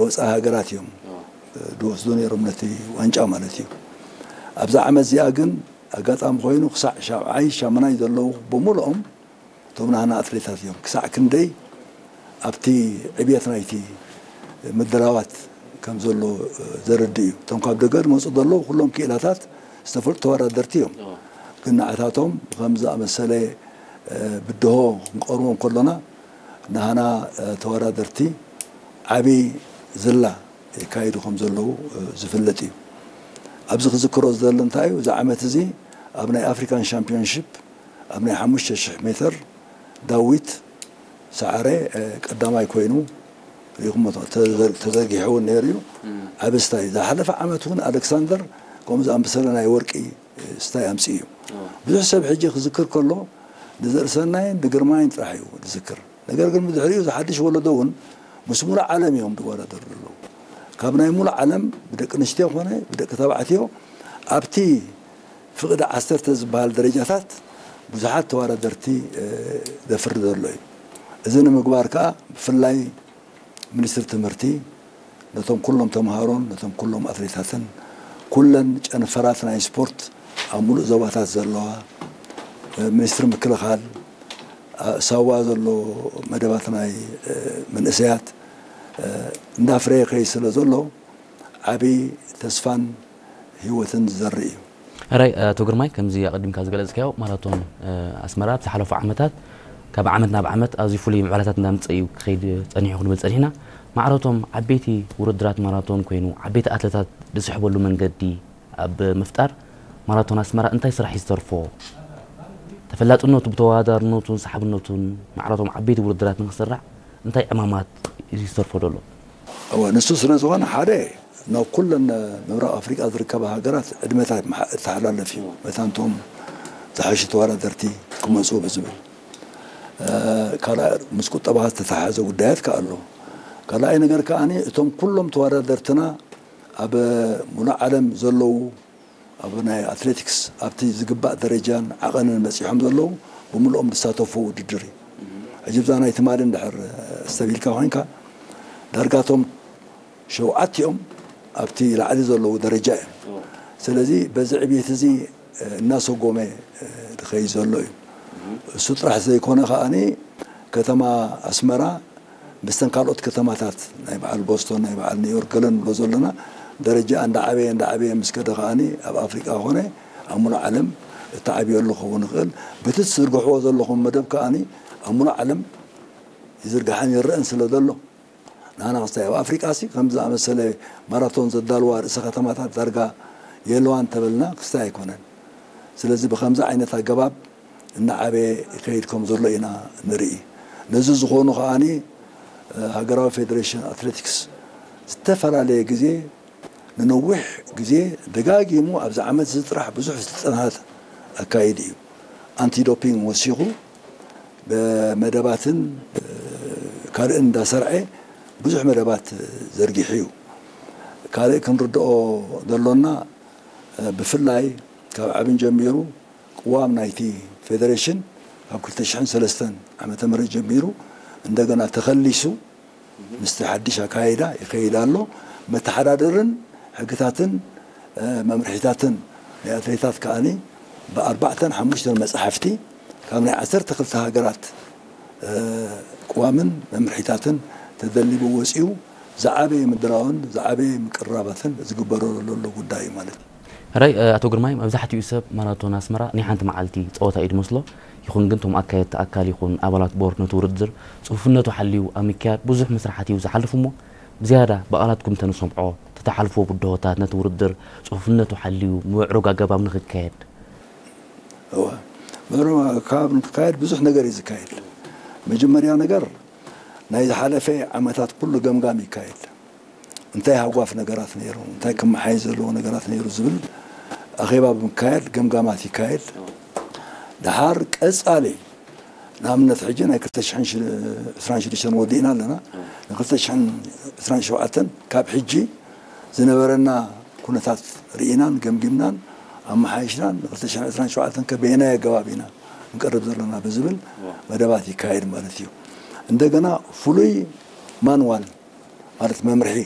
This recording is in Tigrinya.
ወፃኢ ሃገራት እዮም ዝወስዱ ነይሮም ነቲ ዋንጫ ማለት እዩ። ኣብዛ ዓመት እዚኣ ግን ኣጋጣሚ ኮይኑ ክሳዕ ሻብዓይ ሻምናይ ዘለዉ ብምልኦም እቶም ናህና ኣትሌታት እዮም። ክሳዕ ክንደይ ኣብቲ ዕብየት ናይቲ ምድላዋት ከም ዘሎ ዘረድእ እዩ። እቶም ካብ ደገ ዝመፁ ዘለዉ ኩሎም ክኢላታት ዝተፈልጡ ተወዳደርቲ እዮም። ግን ንዓታቶም ከም ዝኣመሰለ ብድሆ ክንቀርቦ እንከሎና ናህና ተወዳደርቲ ዓብዪ ዝላ የካይዱ ከም ዘለዉ ዝፍለጥ እዩ። ኣብዚ ክዝክሮ ዝደሊ እንታይ እዩ፣ እዚ ዓመት እዚ ኣብ ናይ ኣፍሪካን ሻምፒዮንሺፕ ኣብ ናይ ሓሙሽተ ሽሕ ሜትር ዳዊት ሰዓረ ቀዳማይ ኮይኑ ሪኹሞ ተዘርጊሑ እውን ነይሩ እዩ። ዓቢ ስታይ ዝሓለፈ ዓመት እውን ኣሌክሳንደር ከምኡ ዝኣመሰለ ናይ ወርቂ ስታይ ኣምፅኡ እዩ። ብዙሕ ሰብ ሕጂ ክዝክር ከሎ ንዘርእሰናይን ንግርማይን ጥራሕ እዩ ዝዝክር። ነገር ግን ብድሕሪኡ ዝሓድሽ ወለዶ እውን ምስ ሙሉእ ዓለም እዮም ዝወዳደሩ ዘለዉ። ካብ ናይ ሙሉእ ዓለም ብደቂ ኣንስትዮ ኮነ ብደቂ ተባዕትዮ ኣብቲ ፍቕዲ ዓሰርተ ዝበሃል ደረጃታት ብዙሓት ተወዳደርቲ ዘፍሪ ዘሎ እዩ። እዚ ንምግባር ከዓ ብፍላይ ሚኒስትሪ ትምህርቲ ነቶም ኩሎም ተምሃሮን ነቶም ኩሎም ኣትሌታትን ኩለን ጨንፈራት ናይ ስፖርት ኣብ ሙሉእ ዞባታት ዘለዋ ሚኒስትሪ ምክልኻል ሳዋ ዘሎ መደባት ናይ መንእሰያት እንዳፍረየ ከይ ስለ ዘሎ ዓብዪ ተስፋን ህይወትን ዝዘርእ እዩ። ሕራይ ኣቶ ግርማይ፣ ከምዚ ኣቐዲምካ ዝገለጽካዮ ማራቶን ኣስመራ ኣብ ዝሓለፉ ዓመታት ካብ ዓመት ናብ ዓመት ኣዝዩ ፍሉይ ምዕባለታት እንዳምጸ እዩ ክኸይድ ጸኒሑ ክንብል ጸኒሕና። ማዕረቶም ዓበይቲ ውድድራት ማራቶን ኮይኑ ዓበይቲ ኣትለታት ዝስሕበሉ መንገዲ ኣብ ምፍጣር ማራቶን ኣስመራ እንታይ ስራሕ እዩ ዝተርፎ? ተፈላጥነቱ ብተወዳዳርነቱን ሰሓብነቱን ማዕረቶም ዓበይቲ ውድድራት ንክስራዕ እንታይ ዕማማት እዩ ዝተርፎ ዘሎ? እወ፣ ንሱ ስለ ዝኾነ ሓደ ናብ ኩለን ምብራቕ ኣፍሪቃ ዝርከባ ሃገራት ዕድመታት መሓ- እተሓላለፍ እዩ። መታንቶም ዝሓሹ ተወዳደርቲ ክመፁ ብዝብል ካልኣይ ምስ ቁጠባ ዝተተሓሓዘ ጉዳያት ከ ኣሎ። ካልኣይ ነገር ከኣ እቶም ኩሎም ተወዳደርትና ኣብ ሙሉእ ዓለም ዘለዉ ኣብ ናይ ኣትሌቲክስ ኣብቲ ዝግባእ ደረጃን ዓቐንን በፂሖም ዘለዉ ብምልኦም ዝሳተፉ ውድድር እዩ። ሕጂ ብዛ ናይ ትማሊ እንድሕር ኣስተብሂልካ ኮይንካ ዳርጋቶም ሸውዓቲኦም ኣብቲ ላዕሊ ዘለዉ ደረጃ እዮም። ስለዚ በዚ ዕብየት እዚ እናሰጎመ ዝኸይድ ዘሎ እዩ። እሱ ጥራሕ ዘይኮነ ከኣ ከተማ ኣስመራ ምስተን ካልኦት ከተማታት ናይ በዓል ቦስቶን ናይ በዓል ኒውዮርክ ገለ ንብሎ ዘለና ደረጃ እንዳዓበየ እንዳዓበየ ምስ ከደ ከኣ ኣብ ኣፍሪቃ ኮነ ኣብ ሙሉእ ዓለም እተዓብየሉ ክኸውን ይኽእል። ብቲ ትዝርግሕዎ ዘለኹም መደብ ከኣ ኣብ ሙሉእ ዓለም ይዝርጋሕን ይረአን ስለ ዘሎ ንሕና ክስታይ ኣብ ኣፍሪቃ ሲ ከም ዝኣመሰለ ማራቶን ዘዳልዋ ርእሰ ከተማታት ዳርጋ የለዋን ተበልና ክስታይ ኣይኮነን። ስለዚ ብከምዚ ዓይነት ኣገባብ እናዓበየ ይኸይድ ከም ዘሎ ኢና ንርኢ። ነዚ ዝኾኑ ከኣ ሃገራዊ ፌደሬሽን ኣትሌቲክስ ዝተፈላለየ ግዜ ንነዊሕ ግዜ ደጋጊሙ ኣብዚ ዓመት እዚ ጥራሕ ብዙሕ ስልጠናታት ኣካይዱ እዩ። ኣንቲዶፒንግ ወሲኹ ብመደባትን ካልእን እንዳሰርዐ ብዙሕ መደባት ዘርጊሑ እዩ። ካልእ ክንርድኦ ዘሎና ብፍላይ ካብ ዓብን ጀሚሩ ቅዋም ናይቲ ፌደሬሽን ካብ ክልተ ሽሕን ሰለስተን ዓመተ ምህረት ጀሚሩ እንደገና ተኸሊሱ ምስቲ ሓድሽ ኣካይዳ ይኸይድ ኣሎ። መተሓዳደርን ሕግታትን መምርሒታትን ናይ ኣትሌታት ከኣ ብኣርባዕተን ሓሙሽተን መጻሕፍቲ ካብ ናይ ዓሰርተ ክልተ ሃገራት ቅዋምን መምርሒታትን ተደሊቡ ወጺኡ ዝዓበየ ምድላውን ዝዓበየ ምቅርራባትን ዝግበረሉ ዘሎ ጉዳይ እዩ ማለት እዩ። ሕራይ ኣቶ ግርማይ፣ መብዛሕትኡ ሰብ ማራቶን ኣስመራ ናይ ሓንቲ መዓልቲ ጸወታ እዩ ዝመስሎ። ይኹን ግን እቶም ኣካየድቲ ኣካል ይኹን ኣባላት ቦርድ ነቲ ውድድር ጽፉፍነቱ ሓልዩ ኣብ ምክያድ ብዙሕ መስራሓት እዩ ዝሓልፍ እሞ ብዝያዳ ብቓላትኩም ተንሰምዖ ተተሓልፍዎ ብድሆታት ነቲ ውድድር ጽፉፍነቱ ሓልዩ ብምዕሩግ ኣገባብ ንኽካየድ እወ ምዕሩግ ኣገባብ ንክካየድ ብዙሕ ነገር እዩ ዝካየድ። መጀመርያ ነገር ናይ ዝሓለፈ ዓመታት ኩሉ ገምጋም ይካየድ። እንታይ ሃጓፍ ነገራት ነይሩ፣ እንታይ ክመሓየሽ ዘለዎ ነገራት ነይሩ ዝብል ኣኼባ ብምካየድ ገምጋማት ይካየድ። ደሓር ቀጻሊ ንኣብነት ሕጂ ናይ ክልተ ሽሕን ዕስራን ሽዱሽተን ወዲእና ኣለና። ን ክልተ ሽሕን ዕስራን ሸውዓተን ካብ ሕጂ ዝነበረና ኩነታት ርኢናን ገምጊምናን ኣመሓይሽናን ን ክልተ ሽሕን ዕስራን ሸውዓተን ከበየናይ ኣገባብ ኢና ንቀርብ ዘለና ብዝብል መደባት ይካየድ ማለት እዩ። እንደገና ፍሉይ ማንዋል ማለት መምርሒ